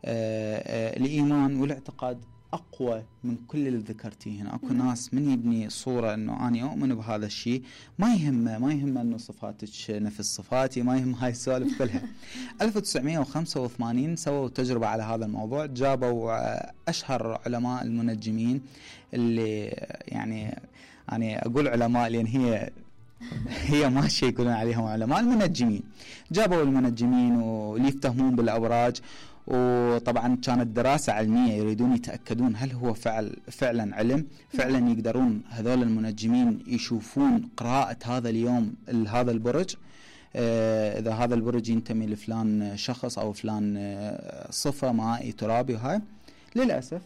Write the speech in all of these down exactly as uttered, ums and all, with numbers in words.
آه الإيمان والاعتقاد أقوى من كل اللي ذكرتيه هنا. أكو م. ناس من يبني صورة أنه أنا أؤمن بهذا الشيء، ما يهمه ما يهمه أنه صفاتك نفس صفاتي، ما يهم هاي السوالف كلها. ألف وتسعمائة وخمسة وثمانين سووا تجربة على هذا الموضوع، جابوا أشهر علماء المنجمين اللي يعني أنا أقول علماء لأن هي هي ماشي يقولون عليهم علماء المنجمين. جابوا المنجمين واللي يفتهمون بالأبراج، وطبعا كانت دراسة علمية يريدون يتأكدون هل هو فعل فعلا علم، فعلا يقدرون هذول المنجمين يشوفون قراءة هذا اليوم هذا البرج، آه إذا هذا البرج ينتمي لفلان شخص أو فلان آه صفة مائي ترابي. وهاي للأسف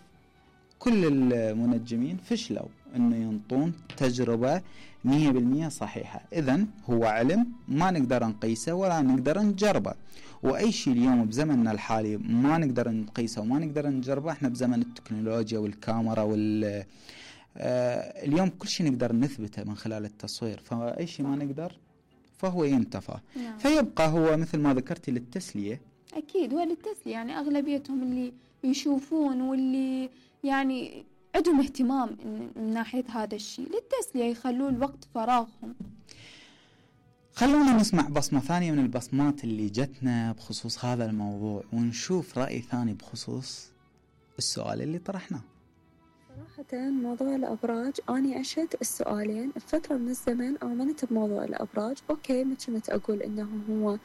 كل المنجمين فشلوا انه ينطون تجربة مية بالمية صحيحة. اذن هو علم ما نقدر نقيسه ولا نقدر نجربه، واي شيء اليوم بزمننا الحالي ما نقدر نقيسه وما نقدر نجربه. احنا بزمن التكنولوجيا والكاميرا وال آه اليوم كل شيء نقدر نثبته من خلال التصوير، فاي شيء ما نقدر فهو ينتفى. نعم. فيبقى هو مثل ما ذكرتي للتسلية. اكيد هو للتسلية، يعني اغلبيتهم اللي يشوفون واللي يعني عندهم اهتمام من ناحية هذا الشيء للتسلية، يخلون وقت فراغهم. خلونا نسمع بصمة ثانية من البصمات اللي جتنا بخصوص هذا الموضوع، ونشوف رأي ثاني بخصوص السؤال اللي طرحناه. صراحة موضوع الأبراج أنا عشت السؤالين بفترة من الزمن. آمنت بموضوع الأبراج، أوكي ما كنت أقول إنه هو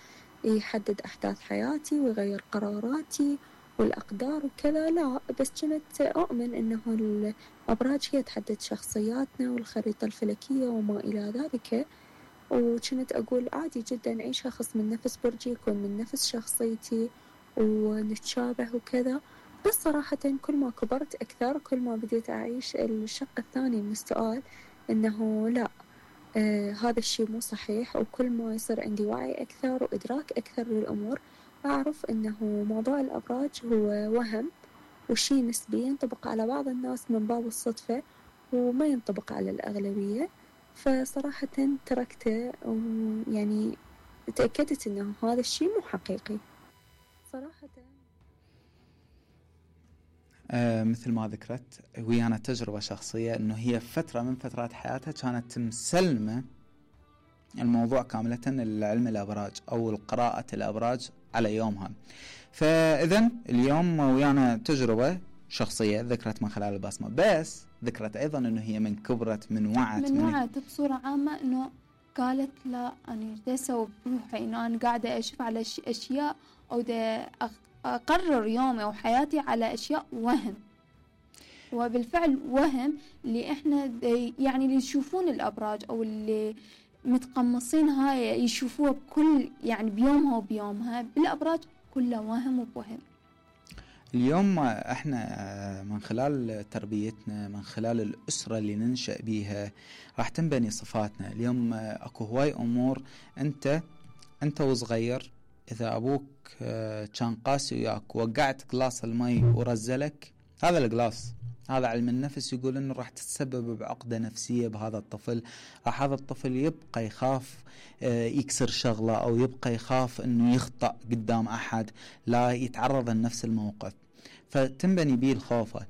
يحدد أحداث حياتي ويغير قراراتي والأقدار وكذا، لا، بس كنت أؤمن إنه الأبراج هي تحدد شخصياتنا والخريطة الفلكية وما إلى ذلك. وكنت أقول عادي جدا أي شخص من نفس برجي يكون من نفس شخصيتي ونتشابه وكذا. بس صراحة كل ما كبرت أكثر كل ما بديت أعيش الشق الثاني من السؤال، إنه لا، آه هذا الشيء مو صحيح. وكل ما يصير عندي وعي أكثر وإدراك أكثر للأمور أعرف أنه موضوع الأبراج هو وهم وشيء نسبي ينطبق على بعض الناس من باب الصدفة وما ينطبق على الأغلبية. فصراحة تركته، ويعني تأكدت أنه هذا الشيء مو حقيقي صراحة. آه مثل ما ذكرت ويانا تجربة شخصية أنه هي فترة من فترات حياتها كانت مسلمة الموضوع كاملة العلم الأبراج أو القراءة الأبراج على يومها. فإذن اليوم ويانا تجربة شخصية ذكرت من خلال البصمة، بس ذكرت أيضا أنه هي من كبرت من وعت من وعت بصورة عامة، أنه قالت لا أنا دا أسوي بروحي إنه أنا قاعدة أشوف على أشياء أو دا أقرر يومي أو حياتي على أشياء وهم. وبالفعل وهم اللي إحنا يعني اللي يشوفون الأبراج أو اللي متقمصين هاي يشوفوها بكل يعني بيومها وبيومها، بالأبراج كلها وهم وبوهم. اليوم احنا من خلال تربيتنا من خلال الأسرة اللي ننشأ بيها راح تنبني صفاتنا. اليوم اكو هواي امور انت انت وصغير اذا ابوك كان قاسي وياك وقعت قلاص المي ورزلك، هذا القلاص هذا علم النفس يقول انه راح تتسبب بعقدة نفسية بهذا الطفل. راح هذا الطفل يبقى يخاف يكسر شغلة او يبقى يخاف انه يخطأ قدام احد، لا يتعرض لنفس الموقف، فتنبني بيه الخوفة.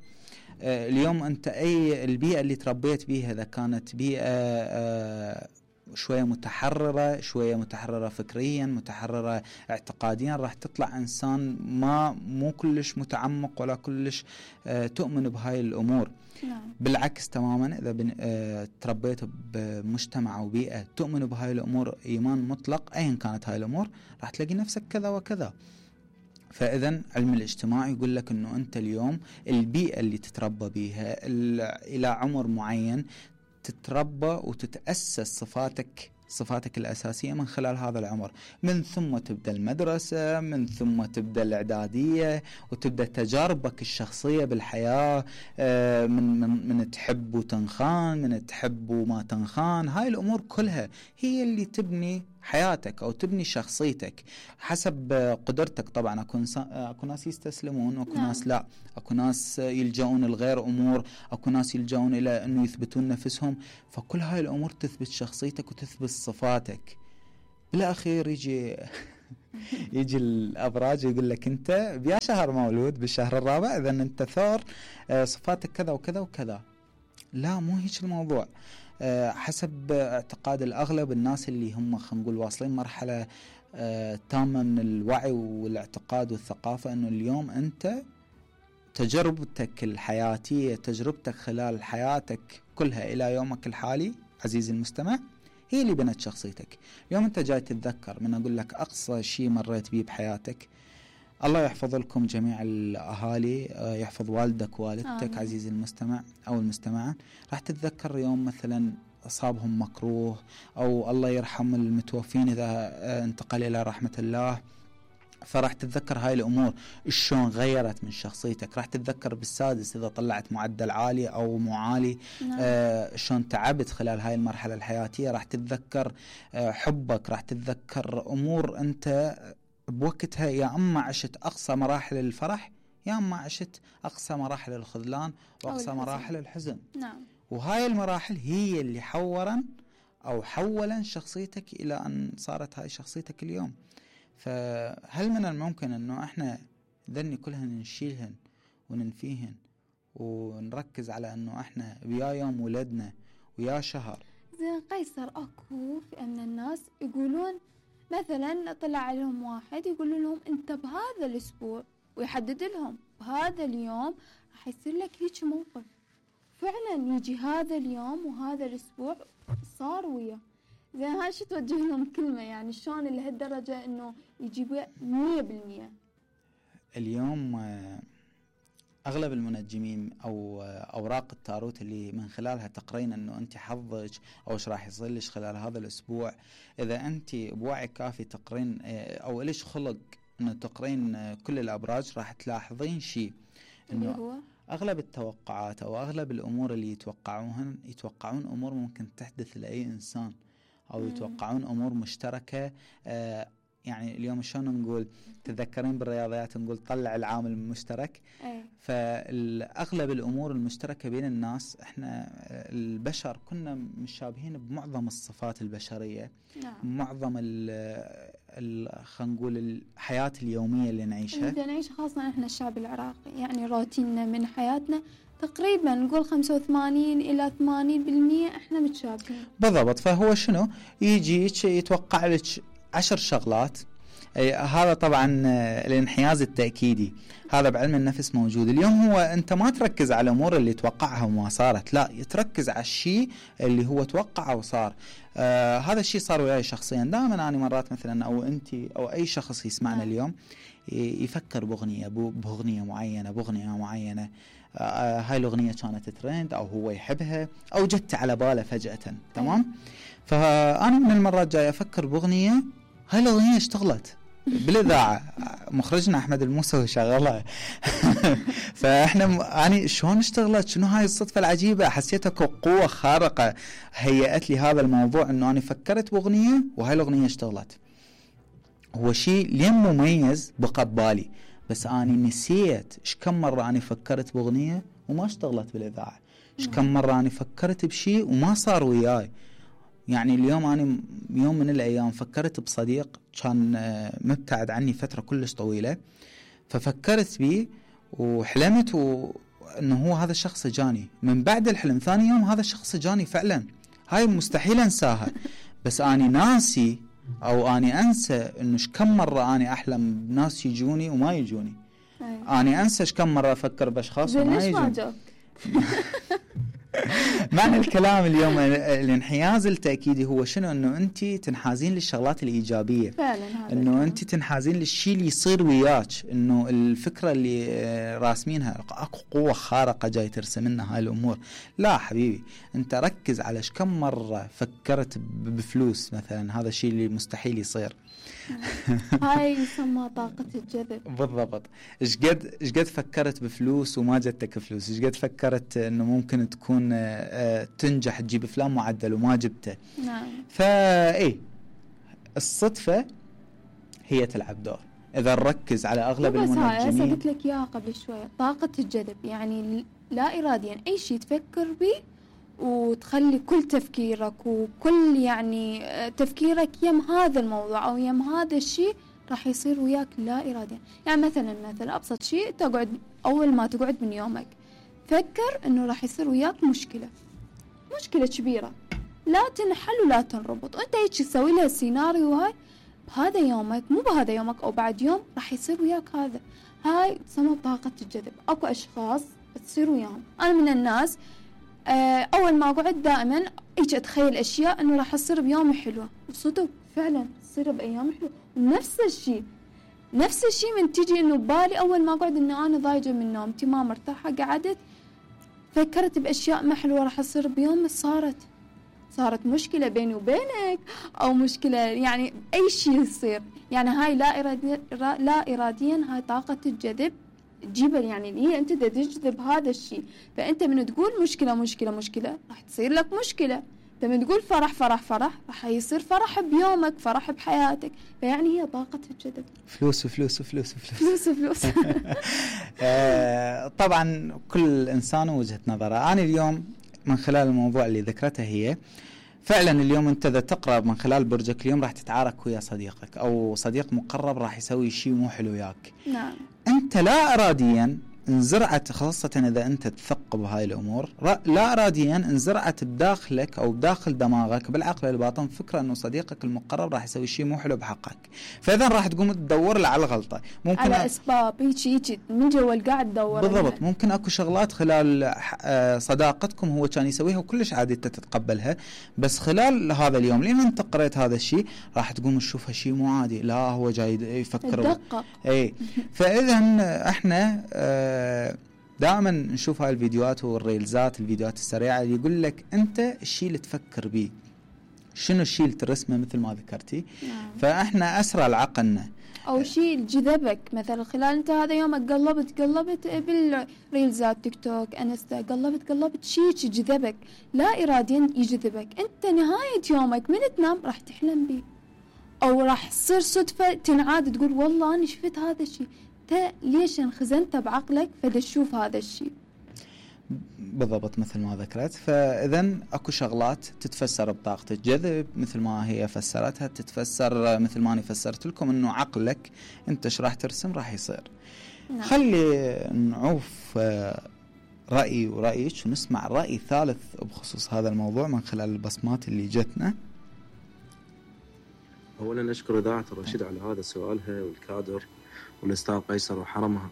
اليوم انت اي البيئة اللي تربيت بيها، اذا كانت بيئة شوية متحررة شوية متحررة فكريا متحررة اعتقاديا، راح تطلع إنسان ما مو كلش متعمق ولا كلش اه تؤمن بهاي الأمور. نعم. بالعكس تماما إذا اه تربيت بمجتمع أو بيئة تؤمن بهاي الأمور إيمان مطلق أيا كانت هاي الأمور، راح تلاقي نفسك كذا وكذا. فإذن علم الاجتماع يقول لك أنه أنت اليوم البيئة اللي تتربى بيها إلى عمر معين تتربى وتتأسس صفاتك صفاتك الأساسية من خلال هذا العمر. من ثم تبدأ المدرسة، من ثم تبدأ الإعدادية، وتبدأ تجاربك الشخصية بالحياة، من من من تحب وتنخان، من تحب وما تنخان. هاي الأمور كلها هي اللي تبني حياتك أو تبني شخصيتك حسب قدرتك. طبعا أكو أكو ناس يستسلمون وأكو نعم. ناس لا، أكو ناس يلجؤون لغير أمور، أكو ناس يلجؤون إلى أنه يثبتون نفسهم. فكل هاي الأمور تثبت شخصيتك وتثبت صفاتك. بالأخير يجي يجي الأبراج يقول لك أنت بيا شهر مولود بالشهر الرابع، إذا أنت ثور، صفاتك كذا وكذا وكذا. لا، مو هيك الموضوع. حسب اعتقاد الأغلب الناس اللي هم خلينا نقول واصلين مرحلة تامة من الوعي والاعتقاد والثقافة، أنه اليوم أنت تجربتك الحياتية، تجربتك خلال حياتك كلها إلى يومك الحالي عزيزي المستمع، هي اللي بنت شخصيتك. اليوم أنت جاي تتذكر من أقول لك أقصى شيء مريت بيه بحياتك. الله يحفظ لكم جميع الأهالي، يحفظ والدك ووالدتك عزيزي المستمع أو المستمعة. راح تتذكر يوم مثلا أصابهم مكروه، أو الله يرحم المتوفين إذا انتقل إلى رحمة الله، فراح تتذكر هاي الأمور شلون غيرت من شخصيتك. راح تتذكر بالسادس إذا طلعت معدل عالي أو مو عالي، آه شلون تعبت خلال هاي المرحلة الحياتية. راح تتذكر آه حبك، راح تتذكر أمور أنت بوقتها يا أما عشت أقصى مراحل الفرح، يا أما عشت أقصى مراحل الخذلان وأقصى مراحل الحزن. نعم. وهاي المراحل هي اللي حورا أو حولا شخصيتك إلى أن صارت هاي شخصيتك اليوم. فهل من الممكن أنه إحنا ذني كلهن نشيلهن وننفيهن ونركز على أنه إحنا ويا يوم ولدنا ويا شهر؟ زين قيصر، أكو في أن الناس يقولون مثلا طلع عليهم واحد يقول لهم أنت بهذا الأسبوع، ويحدد لهم بهذا اليوم راح يصير لك هيك موقف. فعلا يجي هذا اليوم وهذا الأسبوع صار وياه. زين هاي شو توجه لهم كلمة يعني شلون لهالدرجة إنه يجيبوا مية بالمية؟ اليوم أغلب المنجمين أو أوراق التاروت اللي من خلالها تقرين أنه أنت حظك أو إيش راح يصير لك خلال هذا الأسبوع، إذا أنت بوعي كافي تقرين أو إليش خلق أنه تقرين كل الأبراج، راح تلاحظين شيء إنه هو أغلب التوقعات أو أغلب الأمور اللي يتوقعونها يتوقعون أمور ممكن تحدث لأي إنسان، أو مم. يتوقعون أمور مشتركة. آه يعني اليوم شلون نقول، تذكرين بالرياضيات نقول طلع العامل المشترك. أي. فالأغلب الأمور المشتركة بين الناس، إحنا البشر كنا مشابهين بمعظم الصفات البشرية. نعم. معظم خلينا نقول الحياة اليومية اللي نعيشها اللي نعيش، خاصة إحنا الشعب العراقي، يعني روتيننا من حياتنا تقريبا نقول خمسة وثمانين إلى ثمانين بالمية إحنا متشابهين. بالضبط. فهو شنو يجي يتوقع لك عشر شغلات. هذا طبعا الانحياز التأكيدي، هذا بعلم النفس موجود. اليوم هو أنت ما تركز على الأمور اللي توقعها وما صارت، لا، يتركز على الشيء اللي هو توقع وصار. آه هذا الشيء صار وياي شخصيا. دائما أنا مرات مثلا أو أنت أو أي شخص يسمعنا اليوم يفكر بأغنية بأغنية معينة بأغنية معينة آه هاي الأغنية كانت ترند أو هو يحبها أو جت على باله فجأة. تمام. فأنا من المرات جاي أفكر بأغنية، هاي الأغنية اشتغلت بالإذاعة، مخرجنا أحمد الموسوي شغلها. فإحنا يعني شلون اشتغلت؟ شنو هاي الصدفة العجيبة؟ حسيتها قوة خارقة هيئت لي هذا الموضوع، إنه أنا فكرت بأغنية وهاي الأغنية اشتغلت. هو شيء لين مميز بقى ببالي، بس أنا نسيت إيش كم مرة أنا فكرت بأغنية وما اشتغلت بالإذاعة، إيش كم مرة أنا فكرت بشيء وما صار وياي. يعني اليوم أنا يوم من الأيام فكرت بصديق كان مبتعد عني فترة كلش طويلة، ففكرت بيه وحلمت و... أنه هو هذا الشخص جاني. من بعد الحلم ثاني يوم هذا الشخص جاني فعلا. هاي مستحيل أنساها، بس أنا ناسي أو أنا أنسى أنه كم مرة أنا أحلم بناس يجوني وما يجوني. أنا أنسى كم مرة أفكر بأشخاص وما يجوني. معنى الكلام اليوم الانحياز التأكيدي هو شنو؟ انه انت تنحازين للشغلات الإيجابية فعلا، انه انت تنحازين للشيء اللي يصير وياك، انه الفكرة اللي راسمينها اكو قوة خارقة جاي ترسم لنا هاي الامور. لا حبيبي، انت ركز على كم مرة فكرت بفلوس مثلا، هذا الشيء اللي مستحيل يصير. هاي يسمى طاقة الجذب. بالضبط. ايش قد ايش قد فكرت بفلوس وما جتك فلوس، ايش قد فكرت انه ممكن تكون تنجح تجيب فلان معدل وما جبته. نعم. فاي الصدفة هي تلعب دور اذا نركز على اغلب المنجمين. بس قلت لك اياها قبل شوي، طاقة الجذب يعني لا اراديا اي شيء تفكر به وتخلي كل تفكيرك وكل يعني تفكيرك يم هذا الموضوع أو يم هذا الشيء راح يصير وياك لا إراديا. يعني مثلا مثلا أبسط شيء، تقعد أول ما تقعد من يومك فكر إنه راح يصير وياك مشكلة مشكلة كبيرة، لا تنحل ولا تنربط، أنت هيك تسوي لها السيناريو هاي بهذا يومك، مو بهذا يومك أو بعد يوم راح يصير وياك هذا. هاي تسمى طاقة الجذب. أكو أشخاص تصير وياهم، أنا من الناس آه أول ما أقعد دائما هيك أتخيل أشياء إنه راح تصير بيوم حلوة، وصدق فعلا تصير بأيام حلوة. ونفس الشيء نفس الشيء من تيجي إنه بالي أول ما أقعد إنه أنا ضايجة من نومتي ما مرتاحة، قعدت فكرت بأشياء ما حلوة راح تصير بيوم، صارت صارت مشكلة بيني وبينك أو مشكلة يعني أي شيء يصير. يعني هاي لا إراديا لا إراديا هاي طاقة الجذب تجيبها، يعني اللي هي أنت تجذب هذا الشيء. فأنت من تقول مشكلة مشكلة مشكلة راح تصير لك مشكلة، فمن تقول فرح فرح فرح راح يصير فرح بيومك، فرح بحياتك. فيعني هي طاقة الجذب. فلوس فلوس فلوس فلوس فلوس فلوس. طبعا كل إنسان وجهة نظره. أنا اليوم من خلال الموضوع اللي ذكرته هي فعلا اليوم أنت إذا تقرأ من خلال برجك اليوم راح تتعارك ويا صديقك أو صديق مقرب راح يسوي شيء مو حلو وياك. نعم. أنت لا إراديا انزرعت، خاصة إذا أنت تثق بهاي الأمور، لا إراديا انزرعت بداخلك أو بداخل دماغك بالعقل الباطن فكرة إنه صديقك المقرب راح يسوي شيء مو حلو بحقك، فإذا راح تقوم تدور له على الغلطة، ممكن على أسباب هيك هيك من جوا القاعد تدور بالضبط. يعني ممكن أكو شغلات خلال صداقتكم هو كان يسويها وكلش عادي أنت تتقبلها، بس خلال هذا اليوم لين أنت قريت هذا الشيء راح تقوم تشوفها شيء مو عادي، لا هو جاي يفكر إيه. فإذا إحنا دائما نشوف هاي الفيديوهات والريلزات الفيديوهات السريعة اللي يقول لك أنت الشيء اللي تفكر به شنو الشيء اللي ترسمه مثل ما ذكرتي. نعم. فإحنا أسرع لعقلنا أو شيء جذبك مثلا خلال أنت هذا يومك قلبت قلبت بالريلزات تيك توك انستا قلبت قلبت شيء جذبك لا إراديا يجذبك، أنت نهاية يومك من تنام راح تحلم به أو راح تصير صدفة تنعاد تقول والله أنا شفت هذا الشيء، ليش انخزنت بعقلك فدا تشوف هذا الشيء. بالضبط مثل ما ذكرت. فإذا أكو شغلات تتفسر بطاقة الجذب مثل ما هي فسرتها، تتفسر مثل ما أنا فسرت لكم إنه عقلك أنت ايش راح ترسم راح يصير. نعم. خلي نعوف رأيي ورأيك ونسمع رأي ثالث بخصوص هذا الموضوع من خلال البصمات اللي جتنا. أولا أشكر إذاعة الرشيد على هذا سؤالها والكادر والأستاذ قيصر وحرمها.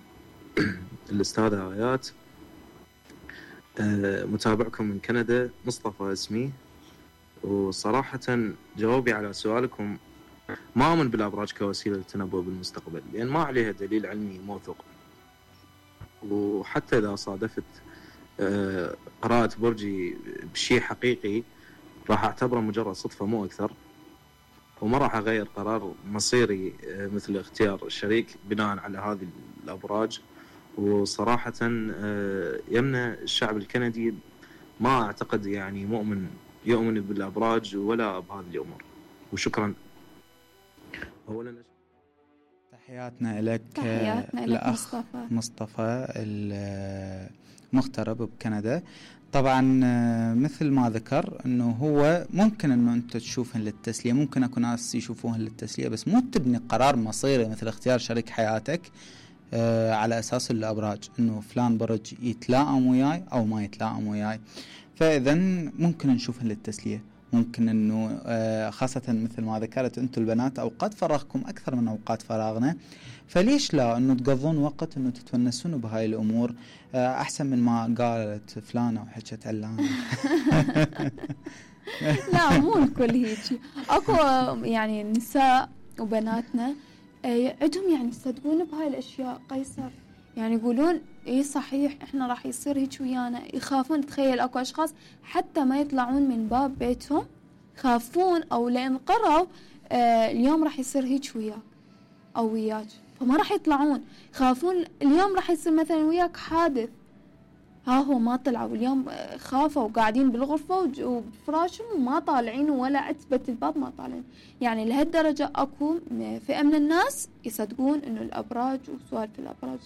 الأستاذة آيات متابعكم من كندا، مصطفى اسمي. وصراحة جوابي على سؤالكم ما أؤمن بالأبراج كوسيلة للتنبؤ بالمستقبل، لأن ما عليها دليل علمي موثوق، وحتى إذا صادفت قراءة برجي بشيء حقيقي راح أعتبره مجرد صدفة مو أكثر، وما راح أغير قرار مصيري مثل اختيار الشريك بناء على هذه الأبراج. وصراحة يمنى الشعب الكندي ما أعتقد يعني مؤمن يؤمن بالأبراج ولا بهذه الأمور. وشكرا. أولا تحياتنا لك تحياتنا لك مصطفى مصطفى المغترب بكندا. طبعا مثل ما ذكر انه هو ممكن انه انت تشوفهن للتسلية، ممكن اكو ناس يشوفوهن للتسلية، بس مو تبني قرار مصيري مثل اختيار شريك حياتك آه على اساس الابراج انه فلان برج يتلائم وياي او ما يتلائم وياي. فاذا ممكن نشوفهن للتسلية، ممكن انه آه خاصة مثل ما ذكرت انتم البنات اوقات فراغكم اكثر من اوقات فراغنا، فليش لا انه تقضون وقت انه تتونسون بهاي الامور آه احسن من ما قالت فلانة وحكت علانة. لا مو الكل هيك، اكو يعني نساء وبناتنا عندهم يعني يصدقون بهاي الاشياء. قيصر يعني يقولون ايه صحيح احنا راح يصير هيك ويانا، يخافون. تخيل اكو اشخاص حتى ما يطلعون من باب بيتهم خافون او لان قروا آه اليوم راح يصير هيك وياك او وياك فما راح يطلعون، خافون اليوم راح يصير مثلا وياك حادث، ها هو ما طلعوا اليوم خافوا وقاعدين بالغرفة وبفراشهم وما طالعين ولا عتبة الباب ما طالعين. يعني لهالدرجة اكو فئة من الناس يصدقون انه الابراج وسوالف الابراج.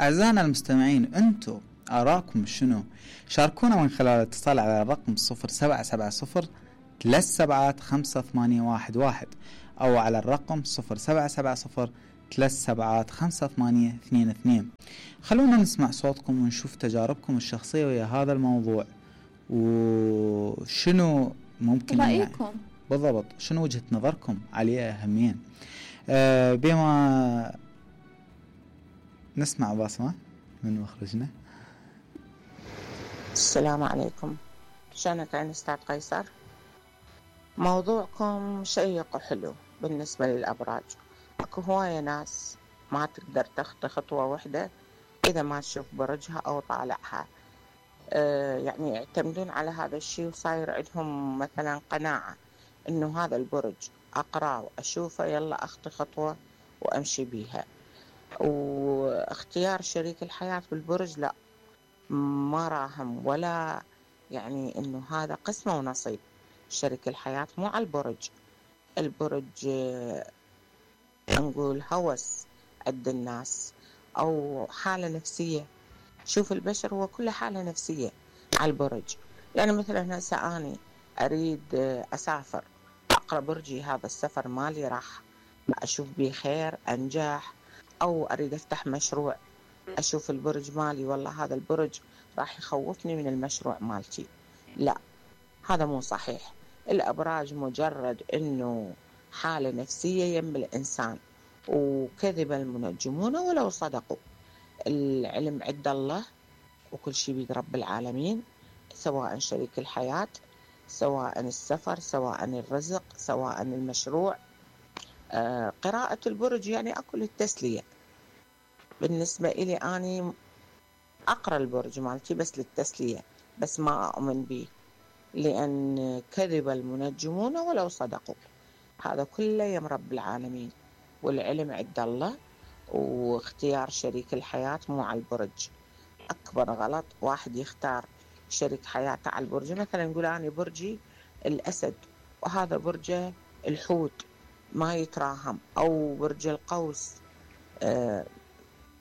اعزائنا المستمعين انتو اراكم شنو؟ شاركونا من خلال الاتصال على الرقم صفر سبعة سبعة صفر ثلاث سبعات خمسة ثمانية واحد واحد أو على الرقم صفر سبعة سبعة صفر ثلاث سبعات خمسة ثمانية اثنين اثنين. خلونا نسمع صوتكم ونشوف تجاربكم الشخصية ويا هذا الموضوع، وشنو ممكن رأيكم يعني بالضبط، شنو وجهة نظركم عليه أهميا. أه بما نسمع باسمة من مخرجنا. السلام عليكم، شلونك يا أستاذ قيصر؟ موضوعكم شيق وحلو. بالنسبة للأبراج، اكو هواية ناس ما تقدر تخطي خطوة واحدة إذا ما تشوف برجها أو طالعها. أه يعني يعتمدون على هذا الشيء، وصاير عندهم مثلا قناعة إنه هذا البرج أقرأ وأشوفه يلا أخطي خطوة وأمشي بيها. واختيار شريك الحياة بالبرج لا، ما راهم ولا يعني إنه هذا قسمة ونصيب. شريك الحياة مو على البرج. البرج نقول هوس عند الناس أو حالة نفسية. شوف البشر هو كله حالة نفسية على البرج. يعني مثلا هسه أنا أريد أسافر، أقرأ برجي هذا السفر مالي راح أشوف بيه خير أنجح، أو أريد أفتح مشروع أشوف البرج مالي والله هذا البرج راح يخوفني من المشروع مالتي. لا، هذا مو صحيح. الأبراج مجرد إنه حالة نفسية يم الإنسان، وكذب المنجمون ولو صدقوا. العلم عند الله وكل شيء بيد رب العالمين، سواء شريك الحياة، سواء السفر، سواء الرزق، سواء المشروع. آه قراءة البرج يعني أكل التسلية. بالنسبة إلي أنا أقرأ البرج مالتي بس للتسلية، بس ما أؤمن به، لأن كذب المنجمون ولو صدقوا. هذا كله يم رب العالمين، والعلم عند الله. واختيار شريك الحياة مو على البرج. أكبر غلط واحد يختار شريك حياته على البرج. مثلا نقول أنا برجي الأسد وهذا برجه الحوت ما يتراهم، أو برج القوس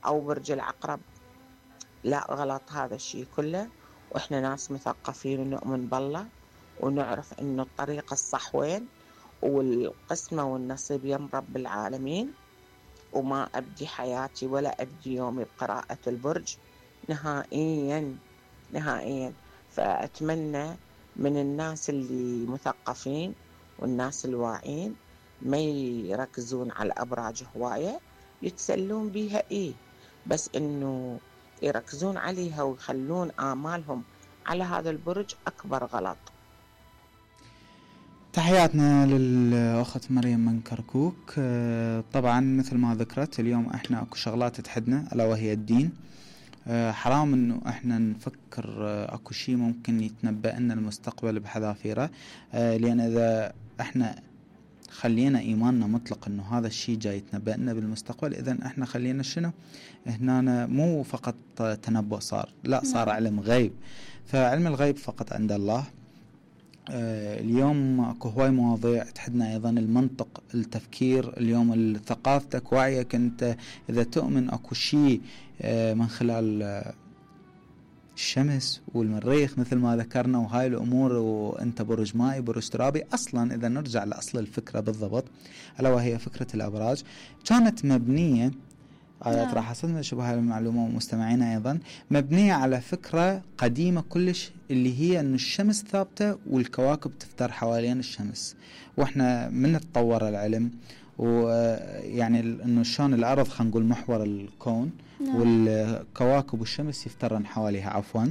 أو برج العقرب. لا، غلط هذا الشيء كله. وإحنا ناس مثقفين ونؤمن بالله ونعرف إنه الطريق الصح وين، والقسمة والنصيب يم رب العالمين. وما أبدي حياتي ولا أبدي يومي بقراءة البرج نهائيا نهائيا. فأتمنى من الناس اللي مثقفين والناس الواعين ما يركزون على الأبراج هواية، يتسلون بيها إيه، بس إنه يركزون عليها ويخلون آمالهم على هذا البرج أكبر غلط. تحياتنا للأخت مريم من كركوك. طبعا مثل ما ذكرت اليوم احنا اكو شغلات تحدنا ألا وهي الدين. حرام انه احنا نفكر اكو شيء ممكن يتنبأ لنا المستقبل بحذافيره، لان اذا احنا خلينا ايماننا مطلق انه هذا الشيء جاي يتنبأ لنا بالمستقبل، اذا احنا خلينا شنو هنا مو فقط تنبؤ صار، لا صار علم غيب. فعلم الغيب فقط عند الله. اليوم اكو هواي مواضيع تحدنا، ايضا المنطق، التفكير. اليوم ثقافتك، وعيك، انت اذا تؤمن اكو شيء من خلال الشمس والمريخ مثل ما ذكرنا وهاي الامور، وانت برج مائي برج ترابي. اصلا اذا نرجع لاصل الفكره بالضبط، الا وهي فكره الابراج كانت مبنيه آيات راح أصدنا شبه هذه المعلومة ومستمعينا أيضا، مبنية على فكرة قديمة كلش، اللي هي أن الشمس ثابتة والكواكب تفتر حوالين الشمس. وإحنا من تطور العلم ويعني أنه شلون الأرض خلينا نقول محور الكون، والكواكب والشمس يفترن حواليها عفوا.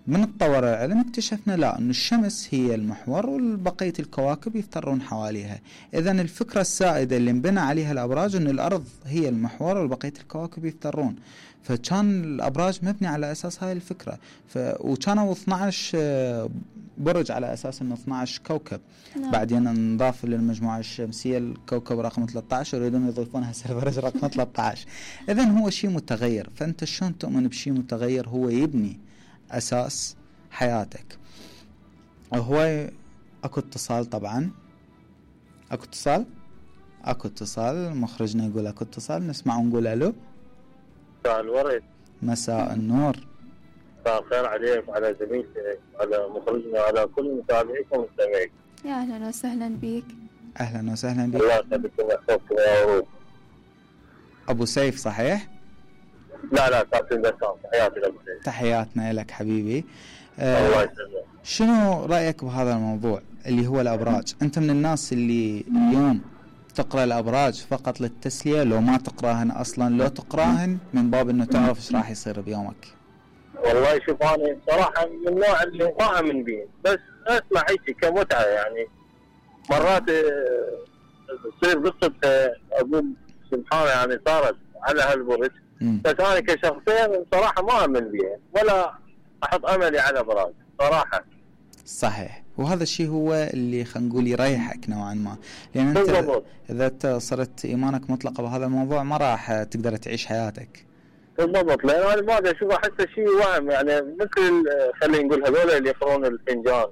من تطور العلم اكتشفنا لا، أن الشمس هي المحور والبقية الكواكب يفترون حواليها. إذن الفكرة السائدة اللي انبنى عليها الأبراج أن الأرض هي المحور والبقية الكواكب يفترون. فكان الأبراج مبني على أساس هاي الفكرة. ف... وكانوا اثني عشر برج على أساس أنه اثني عشر كوكب. نعم. بعدين نضاف للمجموعة الشمسية الكوكب رقم ثلاثة عشر، ويريدون يضيفونها البرج رقم ثلاثة عشر. إذن هو شيء متغير. فأنت شلون تؤمن بشيء متغير هو يبني أساس حياتك. هو أكو اتصال طبعا، أكو اتصال أكو اتصال مخرجنا يقول أكو اتصال، نسمع ونقول ألو. مساء الورد. مساء النور. مساء الخير عليك وعلى زميلتك وعلى مخرجنا وعلى كل متابعيك ومستمعيك. يا أهلا وسهلا بك. اهلا وسهلا بك. الله يسعدكم ويحفظكم يا ورود. ابو سيف صحيح؟ لا لا كابتن بسام، تحياتي لك. تحياتنا لك حبيبي. الله آه يسلمك. شنو رايك بهذا الموضوع اللي هو الابراج؟ انت من الناس اللي اليوم تقرا الابراج فقط للتسليه، لو ما تقراهن اصلا، لو تقراهن من باب انه تعرف ايش راح يصير بيومك؟ والله شوف انا صراحه من النوع اللي ما امن به، بس اسمع هيك كمتعه يعني. مرات تصير قصه اقول سبحان يعني صارت على هالبرج، بس انا كشخصيا صراحه ما امن بها ولا احط املي على ابراج صراحه. صحيح، وهذا الشيء هو اللي خلينا نقول يريحك نوعا ما، لان انت بالضبط. اذا انت صرت ايمانك مطلقه بهذا الموضوع ما راح تقدر تعيش حياتك. بالضبط، لان انا ما ادري اشوف احسه شيء وهم يعني، مثل خلينا نقول هذول اللي يقرون الفنجان.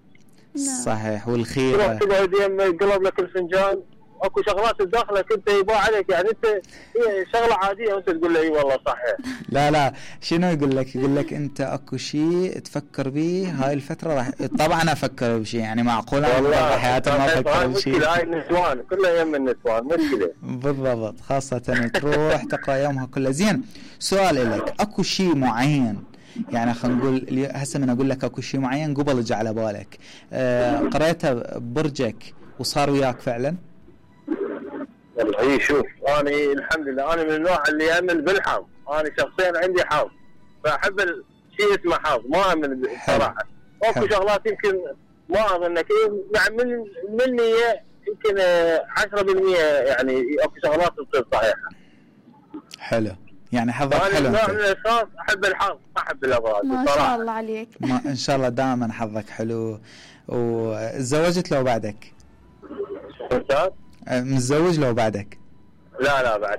صحيح، والخيره تروح تقعد يم يقلب لك الفنجان، اكو شغلات بداخلك انت يباع عليك يعني، انت هي شغله عاديه وانت تقول له اي والله صحيح. لا لا، شنو يقول لك؟ يقول لك انت اكو شيء تفكر به هاي الفتره راح. طبعا افكر بشيء يعني، معقول انا بحياتي ما افكر بشيء؟ مشكله هاي النسوان كلها يم النسوان مشكله. بالضبط، خاصه تروح تقرا يومها كله. زين، سؤال لك، اكو شيء معين يعني خلينا نقول هسه من اقول لك اكو شيء معين قبل اجى على بالك آه قريته برجك وصار وياك فعلا؟ والله شوف انا الحمد لله انا من النوع اللي يامن بالحظ، انا شخصيا عندي حظ فاحب الشيء اسمه حظ، ما امن بصراحه. اكو شغلات يمكن ما اظنك يعني من مني يمكن عشرة بالمئة يعني اكو شغلات تصير صحيحه. حلو، يعني حظك حلو. حلو. انا من الاشخاص احب الحظ ما احب الابراج ما بصراحه. شاء الله عليك. ما ان شاء الله دائما حظك حلو. وتزوجت لو بعدك؟ استاذ متزوج لو بعدك؟ لا لا بعد